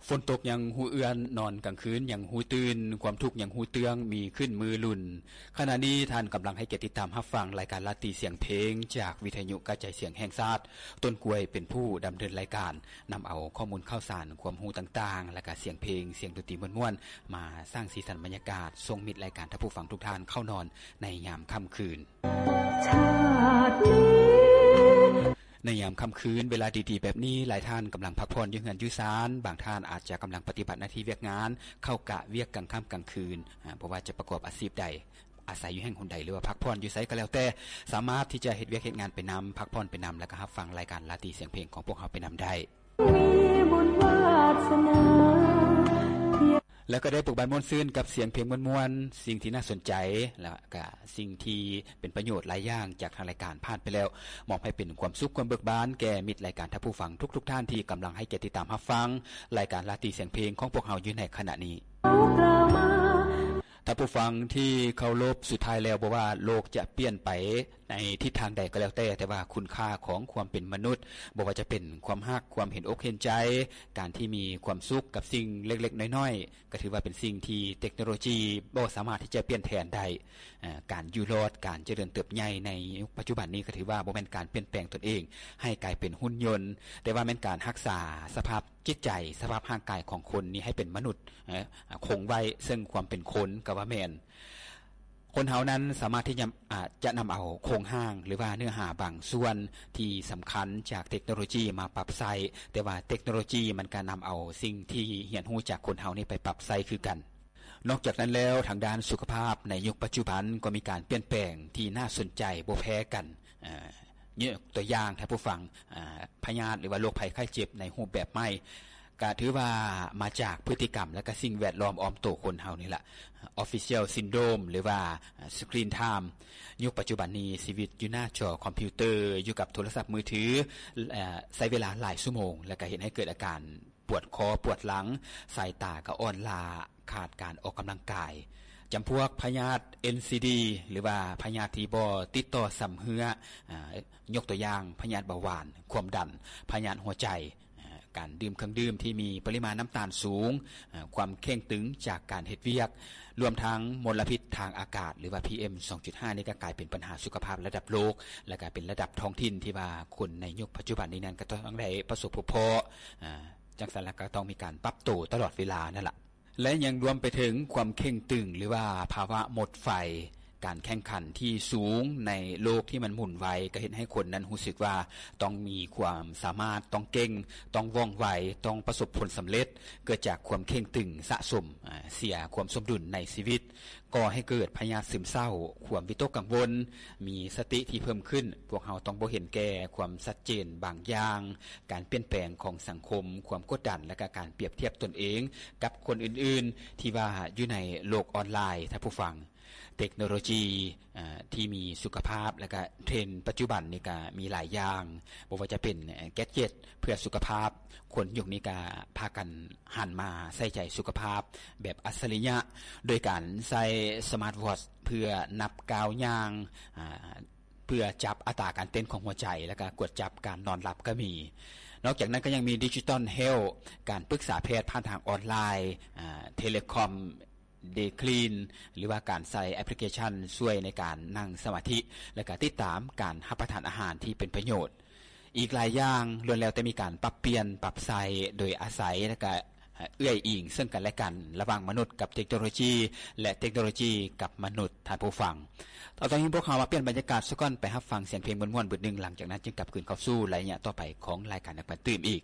ຝົນຕົກຍັງຮູ້ເອື້ອນ ນອນກາງຄືນຍັງຮູ້ຕື່ນ ຄວາມທຸກຍັງຮູ້ເຕື້ອງ ມີຂຶ້ນມື້ລຸນ. ຂະນະນີ້ທ່ານກຳລັງໃຫ້ກຽດຕິດຕາມຮັບຟັງລາຍການລາຕີສຽງເພງ ຈາກວິທະຍຸກະຈາຍສຽງແຫ່ງຊາດ. ຕົ້ນກ້ວຍເປັນຜູ້ດຳເນີນລາຍການ, ນຳເອົາຂໍ້ມູນຂ່າວສານ, ຄວາມຮູ້ຕ່າງໆ ແລະກະສຽງເພງ, ສຽງດົນຕີມ່ວນໆ ມາສ້າງສີສັນບັນຍາກາດ, ສົ່ງມິດລາຍການທ່ານຜູ້ຟັງທຸກທ່ານເຂົ້ານອນໃນຍາມຄ່ຳຄືນ. ໃນຍາມຄ່ຳຄືນ ເວລາດີໆແບບນີ້ ຫຼາຍທ່ານກຳລັງພັກຜ່ອນຢູ່ເຮືອນຢູ່ຊານ, ບາງທ່ານອາດຈະກຳລັງປະຕິບັດໜ້າທີ່ວຽກງານ, ເຂົ້າກະວຽກກາງຄ່ຳກາງຄືນ, ອາ, ບໍ່ວ່າຈະປະກອບອາຊີບໃດ, ອາໄສຢູ່ແຫ່ງຫົນໃດ ຫຼືວ່າພັກຜ່ອນຢູ່ໃສກໍແລ້ວແຕ່, ສາມາດທີ່ຈະເຮັດວຽກເຮັດງານໄປນຳ, ພັກຜ່ອນໄປນຳ ແລະກະຮັບຟັງລາຍການລາຕີສຽງເພງຂອງພວກເຮົາໄປນຳໄດ້. ແລ້ວກໍໄດ້ເບີກບານມ່ວນຊື່ນກັບສຽງເພງມ່ວນໆ, ສິ່ງທີ່ໜ້າສົນໃຈ ແລະກະສິ່ງທີ່ເປັນປະໂຫຍດຫຼາຍຢ່າງຈາກທາງລາຍການຜ່ານໄປແລ້ວ, ມອບໃຫ້ເປັນຄວາມສຸກຄວາມເບີກບານແກ່ມິດລາຍການທ່ານຜູ້ຟັງທຸກໆທ່ານທີ່ກຳລັງໃຫ້ກຽດຕິດຕາມຮັບຟັງລາຍການລາຕີສຽງເພງຂອງພວກເຮົາຢູ່ໃນຂະນະນີ້. ທ່ານຜູ້ຟັງທີ່ເຄົາລົບ, ສຸດທ້າຍແລ້ວບໍ່ວ່າໂລກຈະປ່ຽນໄປ ໃນທິດທາງໃດກໍແລ້ວແຕ່, ແຕ່ວ່າຄຸນຄ່າຂອງຄວາມເປັນມະນຸດ, ບໍ່ວ່າຈະເປັນຄວາມຮັກ, ຄວາມເຫັນອົກເຫັນໃຈ, ການທີ່ມີຄວາມສຸກກັບສິ່ງເລັກໆນ້ອຍໆ, ກໍຖືວ່າເປັນສິ່ງທີ່ເຕັກໂນໂລຈີບໍ່ສາມາດທີ່ຈະປ່ຽນແທນໄດ້. ເອີ່ ການຢູ່ລອດ, ການຈະເລີນເຕີບໃຫຍ່ໃນຍຸກປັດຈຸບັນນີ້ ກໍຖືວ່າບໍ່ແມ່ນການປ່ຽນແປງຕົນເອງໃຫ້ກາຍເປັນຫຸ່ນຍົນ, ແຕ່ວ່າແມ່ນການຮັກສາສະພາບຈິດໃຈ, ສະພາບຮ່າງກາຍຂອງຄົນນີ້ໃຫ້ເປັນມະນຸດ, ເອີ່ ຄົງໄວ້ເຊິ່ງຄວາມເປັນຄົນກໍວ່າແມ່ນ. ຄົນເຮົານັ້ນສາມາດທີ່ຈະ ອາ ຈະນຳເອົາໂຄງຮ່າງ ຫຼືວ່າເນື້ອຫາບາງສ່ວນທີ່ສຳຄັນຈາກເຕັກໂນໂລຈີມາປັບໃຊ້, ແຕ່ວ່າເຕັກໂນໂລຈີມັນກໍນຳເອົາສິ່ງທີ່ຮຽນຮູ້ຈາກຄົນເຮົານີ້ໄປປັບໃຊ້ຄືກັນ. ນອກຈາກນັ້ນແລ້ວ, ທາງດ້ານສຸຂະພາບໃນຍຸກປັດຈຸບັນກໍມີການປ່ຽນແປງທີ່ໜ້າສົນໃຈບໍ່ແພ້ກັນ. ອາ ຍົກຕົວຢ່າງ, ທ່ານຜູ້ຟັງ, ອາ ພະຍາດ ຫຼືວ່າໂລກໄພໄຂ້ເຈັບໃນຮູບແບບໃໝ່ ກະຖືວ່າມາຈາກພຶດຕິກຳ ແລະກະສິ່ງແວດລ້ອມອ້ອມໂຕຄົນເຮົານີ້ລະ. Official Syndrome ຫຼືວ່າ Screen Time. ຍຸກປັດຈຸບັນນີ້ ຊີວິດຢູ່ໜ້າຈໍຄອມພິວເຕີ, ຢູ່ກັບໂທລະສັບມືຖື, ເອີ່ ໃຊ້ເວລາຫຼາຍຊົ່ວໂມງ ແລະກະເຮັດໃຫ້ເກີດອາການປວດຄໍປວດຫຼັງ, ສາຍຕາກະອ່ອນລ້າ, ຂາດການອອກກຳລັງກາຍ. ຈຳພວກພະຍາດ NCD ຫຼືວ່າພະຍາດທີ່ບໍ່ຕິດຕໍ່ຊຳເຮື້ອ, ອາ ຍົກຕົວຢ່າງ ພະຍາດເບົາຫວານ, ຄວາມດັນ, ພະຍາດຫົວໃຈ, ອາ ການດື່ມເຄື່ອງດື່ມທີ່ມີປະລິມານນ້ຳຕານສູງ, ອາ ຄວາມເຄັ່ງຕຶງຈາກການເຮັດວຽກ, ລວມທັງມົນລະພິດທາງອາກາດ ຫຼືວ່າ ພີເອັມ ສອງຈຸດຫ້າ ນີ້ກໍກາຍເປັນບັນຫາສຸຂະພາບລະດັບໂລກ ແລະກະເປັນລະດັບທ້ອງຖິ່ນທີ່ວ່າຄົນໃນຍຸກປັດຈຸບັນນີ້ນັ້ນກໍຕ້ອງໄດ້ປະສົບພົບພໍ້, ອາ ຈັ່ງຊັ້ນລະກໍຕ້ອງມີການປັບໂຕຕະຫຼອດເວລານັ້ນລະ. ແລະຍັງລວມໄປເຖິງຄວາມເຄັ່ງຕຶງ ຫຼືວ່າພາວະໝົດໄຟ, ການແຂ່ງຂັນທີ່ສູງໃນໂລກທີ່ມັນໝູນໄວ ກໍເຮັດໃຫ້ຄົນນັ້ນຮູ້ສຶກວ່າຕ້ອງມີຄວາມສາມາດ, ຕ້ອງເກັ່ງ, ຕ້ອງວ່ອງໄວ, ຕ້ອງປະສົບຜົນສຳເລັດ, ເກີດຈາກຄວາມເຄັ່ງຕຶງສະສົມ, ອາ, ເສຍຄວາມສົມດຸນໃນຊີວິດ, ກໍ່ໃຫ້ເກີດພະຍາດຊຶມເສົ້າ, ຄວາມວິຕົກກັງວົນ, ມີສະຕິທີ່ເພີ່ມຂຶ້ນ. ພວກເຮົາຕ້ອງບໍ່ເຫັນແກ່ຄວາມຊັດເຈນບາງຢ່າງ, ການປ່ຽນແປງຂອງສັງຄົມ, ຄວາມກົດດັນ ແລະກະການປຽບທຽບຕົນເອງກັບຄົນອື່ນໆ ທີ່ວ່າຢູ່ໃນໂລກອອນລາຍ. ທ່ານຜູ້ຟັງ, ເຕັກໂນໂລຈີ, ເອີ່, ທີ່ມີສຸຂະພາບ ແລະກະເທຣນປັດຈຸບັນນີ້ກະມີຫຼາຍຢ່າງ, ບໍ່ວ່າຈະເປັນ, ເອີ່, ແກັດເຈັດເພື່ອສຸຂະພາບ, ຄົນຍຸກນີ້ກະພາກັນຫັນມາໃສ່ໃຈສຸຂະພາບແບບອັດສະລິຍະ ໂດຍການໃຊ້ສະມາດວອດເພື່ອນັບກ້າວຍ່າງ, ອາ, ເພື່ອຈັບອັດຕາການເຕັ້ນຂອງຫົວໃຈ ແລະກະກວດຈັບການນອນຫຼັບກໍມີ. ນອກຈາກນັ້ນກໍຍັງມີດິຈິຕອນເຮວ, ການປຶກສາແພດຜ່ານທາງອອນລາຍ, ອາ, ເທເລຄອມ ເດຄລີນ ຫຼືວ່າການໃຊ້ແອັບພລິເຄຊັນຊ່ວຍໃນການນັ່ງສະມາທິ ແລະກະຕິດຕາມການຮັບປະທານອາຫານທີ່ເປັນປະໂຫຍດ. ອີກຫຼາຍຢ່າງລ້ວນແລ້ວແຕ່ມີການປັບປ່ຽນ, ປັບໃຊ້ ໂດຍອາໄສ ແລະກະ ເອື້ອຍອີງເຊິ່ງກັນແລະກັນ ລະຫວ່າງມະນຸດກັບເຕັກໂນໂລຈີ ແລະເຕັກໂນໂລຈີກັບມະນຸດ. ທ່ານຜູ້ຟັງ, ຕອນນີ້ພວກເຮົາມາປ່ຽນບັນຍາກາດສາກ່ອນ, ໄປຮັບຟັງສຽງເພງມ່ວນໆບຶດໜຶ່ງ, ຫຼັງຈາກນັ້ນຈຶ່ງກັບຄືນເຂົ້າສູ່ໄລຍະຕໍ່ໄປຂອງລາຍການນັກປັ່ນຕື່ມອີກ.